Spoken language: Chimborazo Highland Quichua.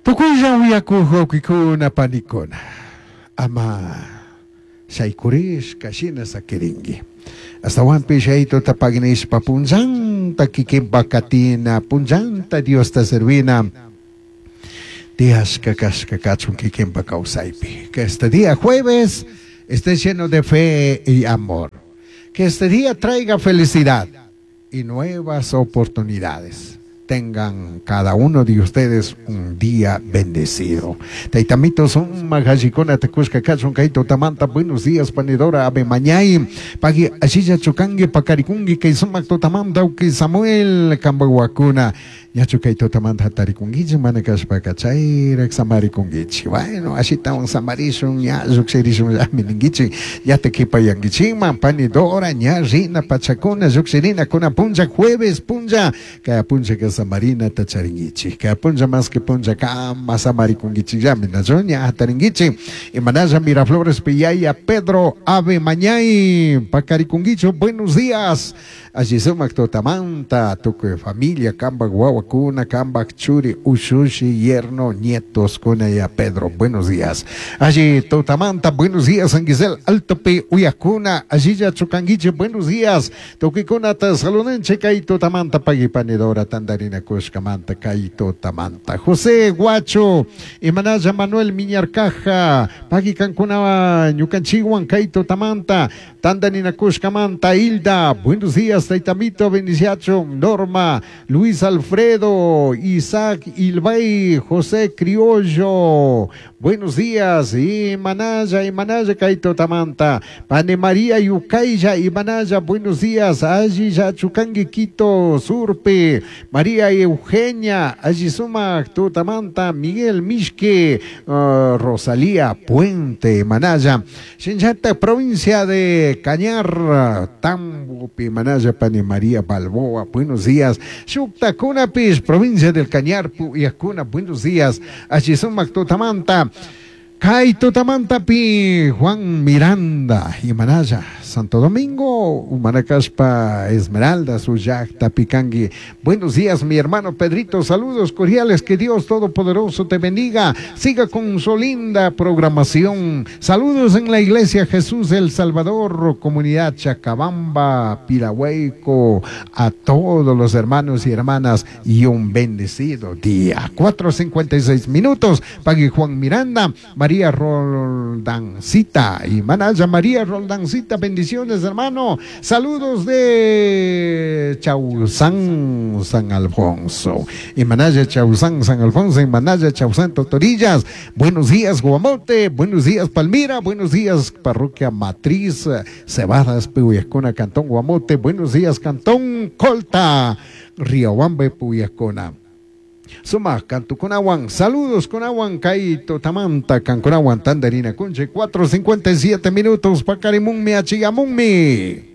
Tukuylla uyakuq wawqikuna panikuna, ama shaykurishka shina sakirinki. Astawanpish Yayaituta pagnishpa punllanta kikinpa katina, punllanta Diosta servina tiyashka kashka kachun kikinpa kawsaypi. Que este día jueves esté lleno de fe y amor. Que este día traiga felicidad y nuevas oportunidades. Tengan cada uno de ustedes un día bendecido. Taytamito sumak allikunata kushka kachun kay tutamanta. Buenos días, panidora Ave Mañay. Pagui ashilla chukangi pakarikungi kay sumak tutamanta uki Samuel kambaguakuna. Ñachu kay tutamanta hatarikunkichik mana kashpaka chayrak samarikunkichik. Bueno, ashitawan samarishun ña llukshirishunllami ninkichik. Ñata kipayankichikman panidora ña rina pachakuna llukshirina kuna punlla jueves punlla kaya punllaka samarinata charinkichik. Kaya punlla más que punlla kama samarikunkichikllami nachu ña hatarinkichik. Imanalla Miraflores Piyaya Pedro Ave Mañay pakarikunkichu. Buenos días. Alli sumak tutamanta tukuy familia kambak wawakuna kambak churi ushushi yerno nietos kuna ya Pedro. Buenos días. Alli tutamanta buenos días San Gisel Altopi uyakuna allilla chukanguiche buenos días. Tukuikunata salunenche kay tutamanta pagipanidora tandarina kushkamanta kay tutamanta. José Guacho Imanalla Manuel Miñarcaja pagikankuna ñukanchiwan kay tutamanta tandarina kushkamanta Hilda. Buenos días Taitamito bendiciacho Norma Luis Alfredo Isaac Ilbay José Criollo. Buenos días Imanalla Imanalla kay tutamanta Pane María Yucaylla Imanalla buenos días alli chukangi Quito Surpe María Eugenia alli sumak tutamanta Miguel Mishke Rosalía Puente Imanalla Shinchata provincia de Cañar Tambo Imanalla Pane María Balboa buenos días Shuktakunapis provincia del Cañar Puyacuna buenos días alli sumak tutamanta Kay tutamantapi Juan Miranda Imanalla Santo Domingo Humanacaspa Esmeralda Suyacta Picangui. Buenos días mi hermano Pedrito, saludos cordiales, que Dios Todopoderoso te bendiga, siga con su linda programación. Saludos en la iglesia Jesús el Salvador, comunidad Chacabamba, Pirahueco, a todos los hermanos y hermanas y un bendecido día. 4:56 minutos, Pagui Juan Miranda, María Roldancita y Manaya María Roldancita, bendiciones hermano, saludos de Chausán, San Alfonso, y Manaya Chausán, San Alfonso, y Manaya Chausán, Totorillas, buenos días Guamote, buenos días Palmira, buenos días Parroquia Matriz, Cebadas, Puyascona, Cantón Guamote, buenos días Cantón Colta, Riobamba, Puyascona. Sumak kantukunawan, saludos kunawan kay tutamanta kankunawan tandarina kunche 4:57 minutos pakarimunmi achigamunmi.